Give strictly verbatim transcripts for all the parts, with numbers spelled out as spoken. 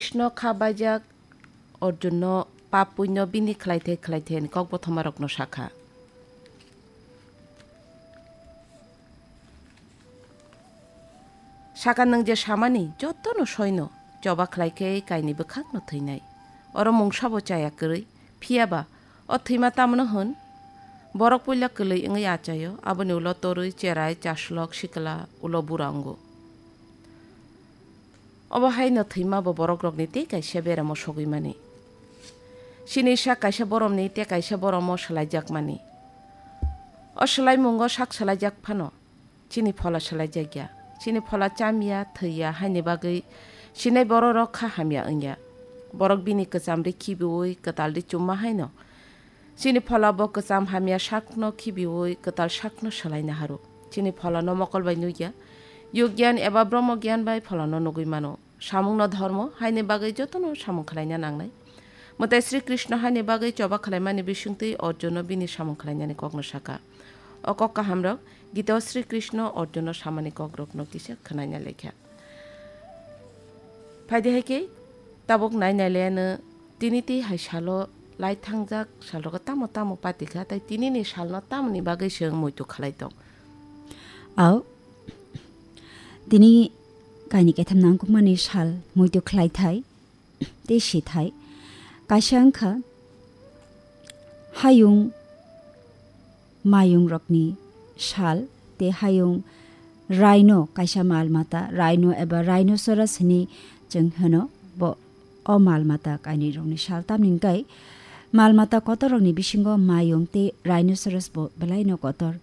Krishno kha baijak Arjunno pap punyo bini khlaithai khlaithai ni kok bothomarokno sakha. Saka nwng je samani jotono soino, choba khlai khe kaini bwkhakno thwinai. Oro mungsabo chaya kwrwi, phiyaba o thwima tamno hwn? Borok puila kwlwi wngwi achaio, aboni ulo torwi cherai, chaslok, sikla, ulo bura wngo. Obo haino thwima bo borokrokni tei kaisa beramo sogwi mani. Chini sak kaisa boromni tei kaisa boromo swlaijakmani. O swlaimungo sak swlaijak phano, chini phola swlaijakya. Chini phola chamya, thwiya haini bagwi sinai bororok kha hamya wngya. Borok bini kwchamri khibiui kwtalri chumma haino, chini phola bo kwcham hamya sakno khibiui kwtal sakno swlaina haru. Chini pholano mokol bai nukya, yug gyan eba brahmo gyan bai pholano nugwi mano. Samungno dhormo haini bagwi jotono samung khlaina nangnai. Mwtai Sri Krishno haini bagwi choba khlaimani bisingtwi Arjunno bini samung khlainani kokno saka. O kok kahamrok Gita o Sri Krishno Arjunno samani kokrokno kisa khwnaina lekha. Phaidi hai khe tabuk nai nai laiano tini tei hai salo lai thangjak salrogo tamo tamo pati kha, tei tinini salno tamoni bagwi chwng muitu khlai tong? Au, tini kaini kaitham nangkukmani sal muitu khlai thai tei si thai. Kaisa wngkha hayung mayungrokni sal tei hayung rhino, kaisa mal mata, rhino eba rhinoceros hwnwi chwng hwno, bo o mal mata kainwirokni sal. Tamni hwnkhe mal mata kotorrokni bisingo mayung tei rhinoceros bo belaino kotor.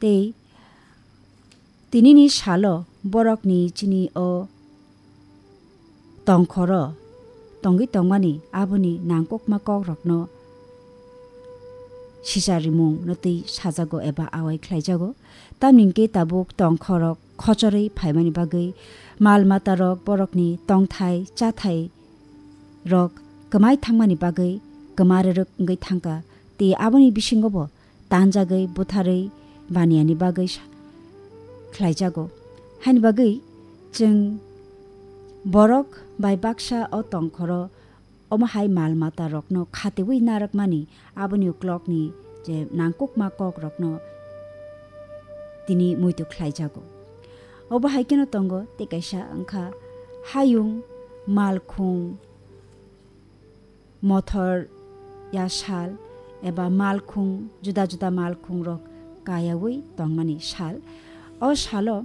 Tei tinini salo borokni chini o tongkhoro tongwi tongmani aboni nangkukma kokrokno sicharimung no twi sajago eba awai khlaijago. Tamni hwnkhe tabuk tongkhorok khochorwi phaimani bagwi mal matarok borokni tongthai chathai rok kwmai thangmani bagwi kwma rwrwk wngwi thangkha, tei aboni bisingo bo tanjagwi butharwi baniyani bagwi sa-, khlaijago. Haini bagwi chwng borok bai baksa o tongkhoro omo hai mal mata rokno khatiwi narwkmani aboni uklokni je nangkukma kok rokno tini muitu khlaijago. Obo hai kheno tongo tei kaisa wngkha hayung, malkhung, mothor ya sal eba malkhung, juda juda malkhung rok kayawi tongmani sal. O salo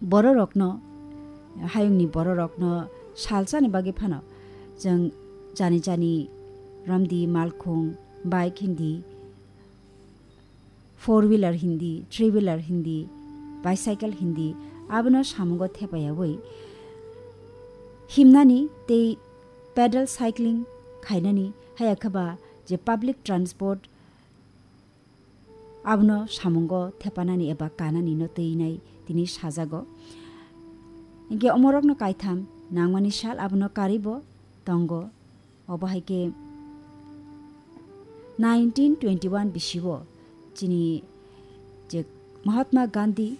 bororokno, hayungni bororokno sal chani bagwi phano chwng jani jani romdi, malkhung, bike hindi, four wheeler hindi, three wheeler hindi, bicycle hindi, abono samungo thepayawi himnani tei pedal cycling khainani, haya khe ba je public transport abono samungo thepanani eba kanani no twinai tini sajago. Hinkhe omorokno kaitham nangmani sal abono karwi bo tongo. Obo hai khe nineteen twenty-one bisio chini je Mahatma Gandhi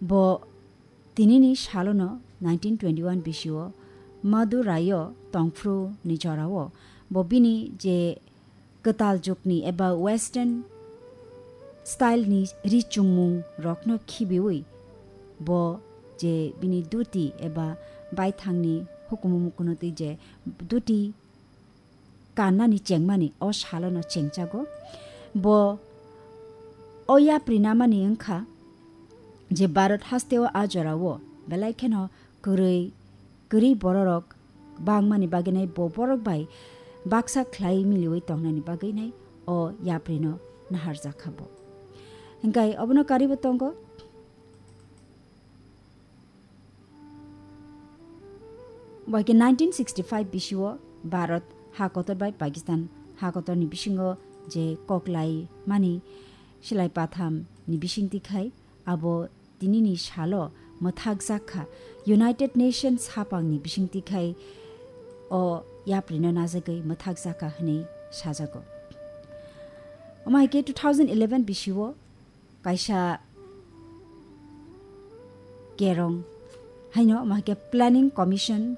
bo tinini salono nineteen twenty-one bisio Madurai-o tongphru ni jorao bo bini je kwtal jukni eba western style ni ri chumung rokno khibiwi bo je bini duti eba baithangni hukumu mukunutwi je duti kannani chengmani o salono chengchago. Bo o yapri namani wngkha je Bharat hasteo a jorao belai kheno kwrwi, kwrwi bororok bangmani bagwinai bo borok bai baksa khlai miliwi tongnani bagwinai o yaprino naharjakha bo. Hinkhe obono karibo tongo. Bai khe nineteen sixty-five bisio Bharat ha kotor bai Pakistan ha kotorni bisingo je koklai mani silai patham ni bisingtwi khai abo tinini salo mwthakjak kha, United Nations hapangni bisingtwi khai o yaprino najagwi mwthakjak kha hwnwi sajago. Omo hai khe two thousand eleven bisio kaisa kerong haino omo hai khe Planning Commission